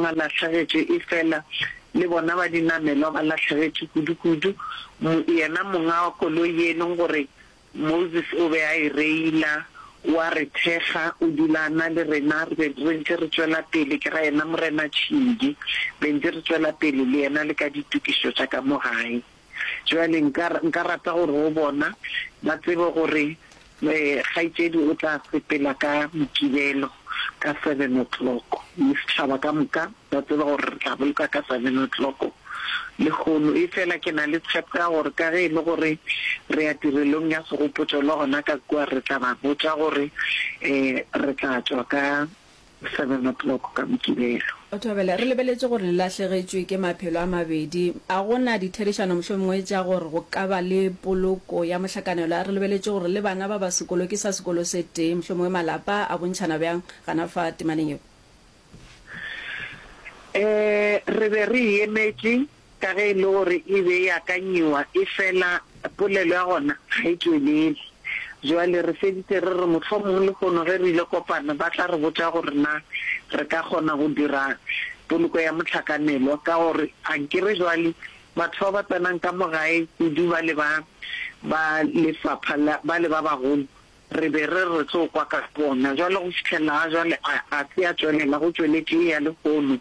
bang a lahlegetšwe efela le bona ba dinamelwa ba lahlegetšwe kudu-kudu. Yena monga wa koloi ye e leng gore Moses o be a e reila, o a re thekga, o dula a na le rena, re be re ntše re tšwela pele, ke ra yena Morena Tšhidi, be ntše re tšwela pele le yena le ka ditokišo tša ka mo gae. Bjale nka, nka rata gore go bona ba tsebe gore kgaetšedi o tla sepela ka Mokibelo ka seven o'clock, le setšhaba ka moka ba tseba gore re tla boloka ka seven o'clock lehono. Efela ke na le tshepo ya gore ka ge e le gore re ya tirelong ya segopotšo le gona ka kua re tla ba botša gore re tla tšwa ka seven o'clock ka Mokibelo. Thobela, re lebeletše gore le lahlegetšwe ke maphelo a mabedi. A go na ditherišano mohlomongwe tša gore go ka ba le poloko ya mohlakanelwa? Re lebeletše gore le bana ba ba sekolo ke sa sekolo se tee, mohlomongwe malapa a bontšhana bjang gana fa temaneng yeo? Ee, re be re e emetše ka ge e le gore e be e akanyiwa, efela polelo ya gona ga e tšwelele. Bjale re feditše re re mohlomong lehono ge re ile kopana ba tla re botša gore na re ka kgona go dira poloko ya mohlakanelwa ka gore ankere bjale batho ba ba tsenang ka mo gae kudu bale ba ba lefapha la bale ba bagolo Re be re re tlo kwa ka bona. Bjale go fihlela ga jwale a, a se a tšwelela, go tšweletše ye ya lehono.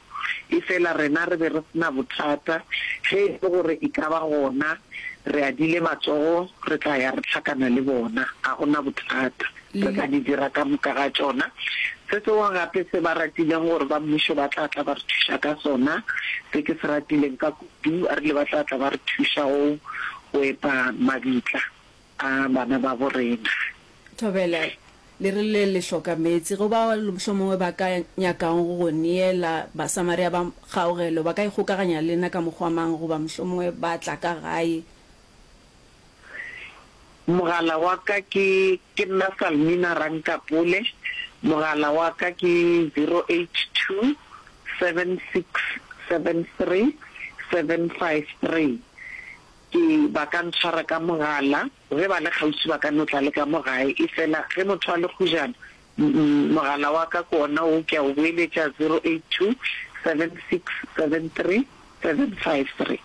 Efela rena re be re se na bothata. Ge e le gore e ka ba gona, re adile matsogo, re tla ya re hlakana le bona. Ga go na bothata. Re tla di dira ka moka ga tšona. Se sengwe gape se ba ratileng gore ba mmušo ba tla tla ba re thuša ka sona, se ke se ratileng ka kudu, ba rile ba tla tla ba re thuša go, go epa mabitla. A bana babo rena. Thobela, Le rile le hloka meetse. Go bao mohlomongwe ba ka nyakago go go neela Basamaria ba kgaogelo, ba ka ikgokaganya le lena ka mokgwa mang goba mohlomongwe ba tla ka gae? Mogala wa ka ke, ke nna Salmina Rankapole, mogala wa ka ke 082 7673 753. Ke, ba ka ntshwara ka mogala, ge ba le kgauswi ba ka no tla le ka mo gae, efela ge motho a le kgujana, mm, mogala wa ka ke wona wo, ke a o boeletša, 082 7673 753.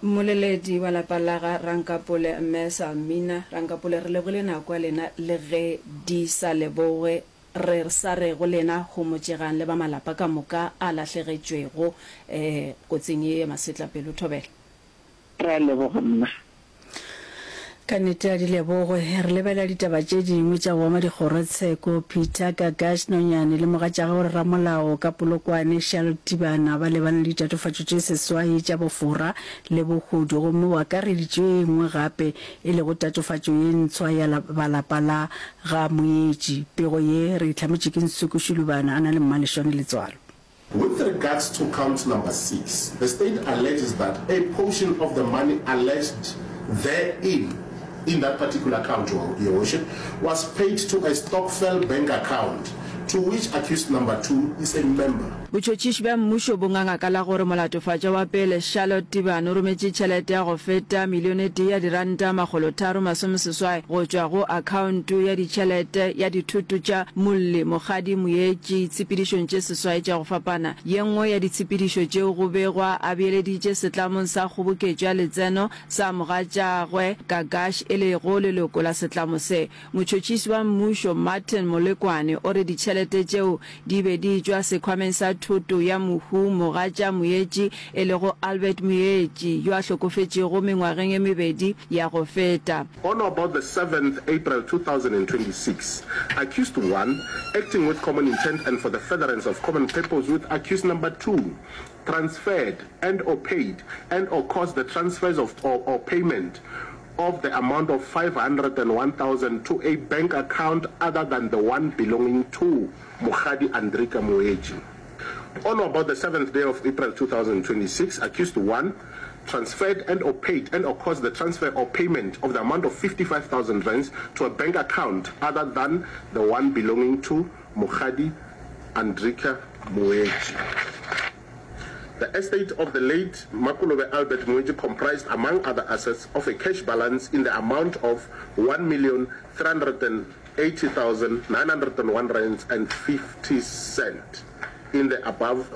Mmoleledi wa lapa la ga Rankapole, Mme Salmina Rankapole, re lebogile nako ya lena le ge di sa lebogwe, re sa re go lena homotšegang le ba malapa ka moka a lahlegetšwego kotsing ye ya masetlapelo. Thobela. Re a leboga mma. Ka nnete a di lebogwe. Re lebelela ditaba tše dingwe tša go ama dikgorotsheko. Peter Gagash Nonyane le mogatšagwe ramolao ka Polokwane, Charlotte Tibana ba lebane le ditatofatšo tše seswai tša bofora le bohodu gomme o akareditše ye nngwe gape e lego tatofatšo ye ntshwa ya ba lapa la ga Moetši. Pego ye re e hlametše ke Nsuku Shulubana a na le Mmalešwane Letswalo. With regards to count number six, the state alleges that a portion of the money alleged therein, in that particular count, Your Worship, was paid to a stokvel bank account to which accused number two is a member. Botšhotšhiši bja mmušo bo nganga ka la gore molatofatšwa wa pele, Charlotte Tibane o rometše tšhelete ya go feta milione e tee ya diranta makgolotharo masomeseswai go tšwa go akhaonto ya ditšhelete ya dithoto tša molli Mokgadi Moetši tshepedišong tše seswai tša go fapana. Ye nngwe ya ditshepedišo tšeo go begwa a beeleditše setlamong sa kgoboketšo ya letseno sa mogatšagwe Gagash e lego leloko la setlamo se. Motšhotšhisi wa mmušo Martin Molekwane o re ditšhelete tšeo di be di tšwa sekhwameng sa thoto ya mohu mogatša Moetši e lego Albert Moetši yo a hlokofetšego mengwageng e mebedi ya go feta. On or about the seventh April 2026, accused one, acting with common intent and for the furtherance of common purpose with accused number two, transferred and or paid and or caused the transfers of or, or payment of the amount of 501,000 to a bank account other than the one belonging to Mokgadi Andrika Moetši. On or about the seventh day of April 2026, accused one transferred and or paid and or caused the transfer or payment of the amount of 55,000 rands to a bank account other than the one belonging to Mokgadi Andrika Moetši. The estate of the late Makolobe Albert Moetši comprised, among other assets, of a cash balance in the amount of 1,380,901 rands and 50 cent in the above.